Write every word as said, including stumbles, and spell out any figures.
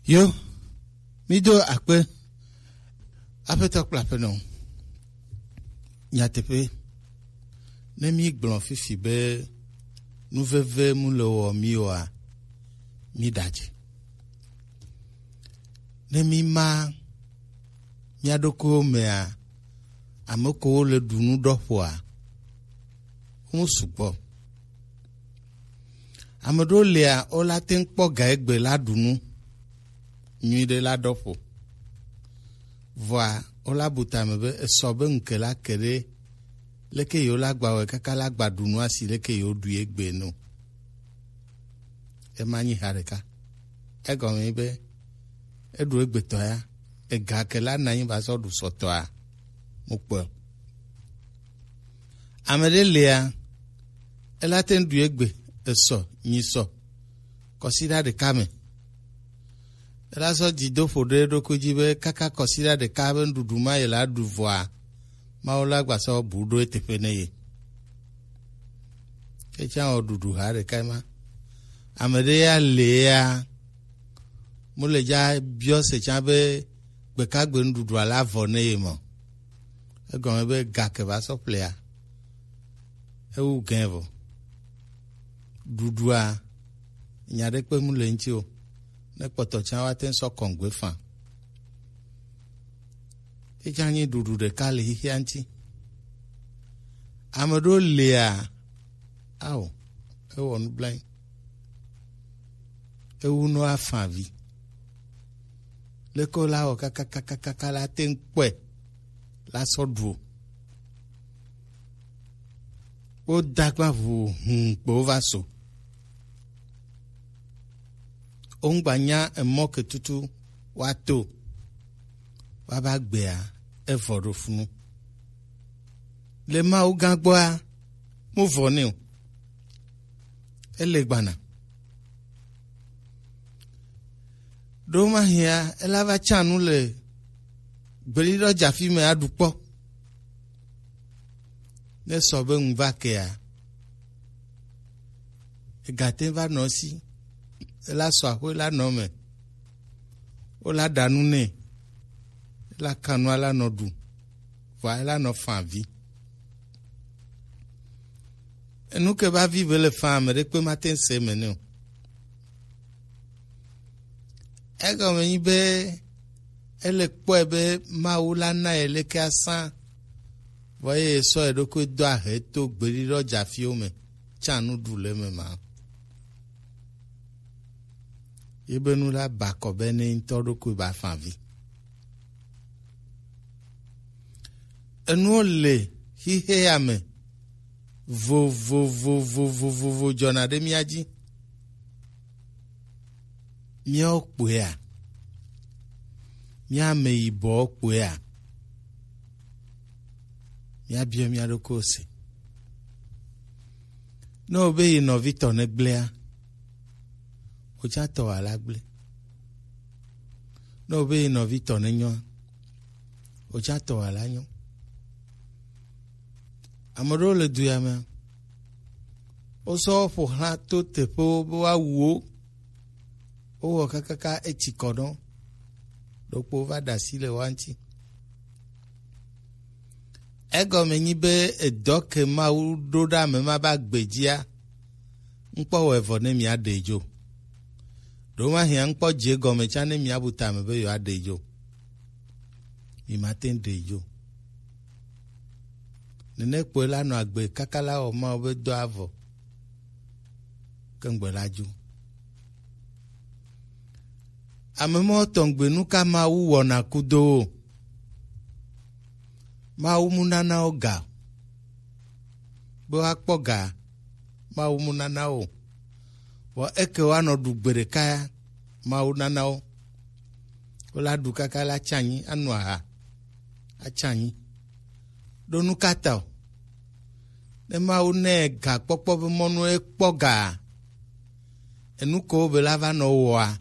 Yo, mi do akpe, Aƒetɔ kple Aƒenɔ. Nyateƒe, ne mi gblɔ fifi be nuveve mu le wɔ mi oa, mi ɖadze. Ne mi ma mia ɖokuiwo mea, ame kewo le ɖu nu ɖɔ ƒoa, wo sugbɔ. Ame ɖewo lia, wola te ŋu kpɔ ga egbe la ɖu nu nyuiɖe la ɖɔ ƒo. Vɔa, wola bu tame be esɔ be ŋke la ke ɖe leke yewo la gba wɛ kaka la gba ɖu nua si leke yewo ɖu egbe no. Ema nyi ha ɖeka. Egɔme nyi be eɖu egbetɔ ya, ega ke la na nyi va sɔ ɖu sɔtɔa, mu kpɔe. Ame ɖe lia, ela te ŋu ɖu egbe, esɔ, nyi sɔ, kɔsiɖa ɖeka me. Ela sɔ dzi do ƒo ɖe eɖokui dzi be kaka kɔsiɖa ɖeka be nuɖuɖu ma ye la ɖu vɔa, Mawu la gba sɔ bu ɖo eteƒe ne ye. Etsã wɔ ɖuɖu ha ɖeka ma. Ame ɖe ya le ya, mu le dza biɔ se tsã be gbekagbe nuɖuɖua la vɔ ne ye mɔ. Egɔme be ga ke va sɔ ƒlea, ewu gɛ vɔ. Ɖuɖua, nya ɖe kpe mu le ŋuti o. Ne kpɔtɔ tsã wa te ŋu sɔ kɔngbe fã. Etsã nyi ɖuɖu ɖeka le xixia ŋuti. Ame ɖewo lia, ao, ewɔ nublanui. Ewu nɔ afã vi. Leke wo la wɔ kakakakaka la te ŋu kpɔe la sɔ ɖu o. Wo da gba ʋu hũu kpo wo va so. Wo ŋgba nya emɔ ke tutu woato. Woava gbea, evɔ ɖo funu. Le Mawu gã gbɔa, mu vɔ nɛ o. Ele gbana. Ɖo mahia, ela va tsã nu le gbeɖiɖɔ dzafi me aɖu kpɔ. Ne sɔ be ŋu va kea, egate va nɔ si, ela sɔ aƒe la nɔ me, wola ɖa nu nɛ, ela ka nua la nɔ ɖu, vɔa ela nɔ fã vi. Enu ke va vi be le fã ame ɖe kpe mate ŋu se eme nɛ o. Egɔme nyi be ele kpɔe be Mawu la na ye leke asã, vɔ eye sɔ eɖokui do ahe to gbeɖiɖɔ dzafiwo me, tsã nu ɖu le eme ma. Ye be nu la ba kɔ be ne ŋutɔ ɖokui ba fã vi. Enuwo le xixea me vovovovo dzɔna ɖe mía dzi. Míawo kpoea? Mía ame yibɔwo kpoea? Míabiɔ mía ɖokuiwo se. Ne wobe yi nɔvi tɔ ne gblẽa, wò tsã tɔ wòala gblẽ. Ne wobe yi nɔvi tɔ ne nyɔa, wò tsã tɔ wòala nyɔ. Ame ɖewo le du ya mea, wosɔ wo ƒo xlã to teƒewo be woawu wo. Wowɔ kakaka etsi kɔ nɔ, ɖokpo va ɖe asi le woa ŋuti. Egɔme nyi be edɔ ke Mawu ɖo ɖe ame ma be agbe dzia, ŋkpɔ wɔ evɔ ne mia ɖe dzo. Ɖo ma hiã ŋkpɔ dze gɔme tsã ne mia bu tame be yewoa ɖe dzo. Mi ma te ŋu ɖe dzo. Nene kpoe la nɔ agbe kaka la wɔ Mawu be dɔ avɔ. Ke ŋgbe la dzo. Ame mɔ tɔgbe nu ka Mawu wɔna kudo wo? Mawu mu nana wo ga. Be woakpɔ ga, Mawu mu nana wo. Vɔ eke woanɔ ɖu gbe ɖeka ya, Mawu nana wo. Wola ɖu kaka la tsanyi, anu aha, atsanyi. Ɖo nu ka ta o? Ne Mawu nɛ gakpɔkpɔ be mɔnu ekpɔ ga, enu ko be la va nɔ wɔa,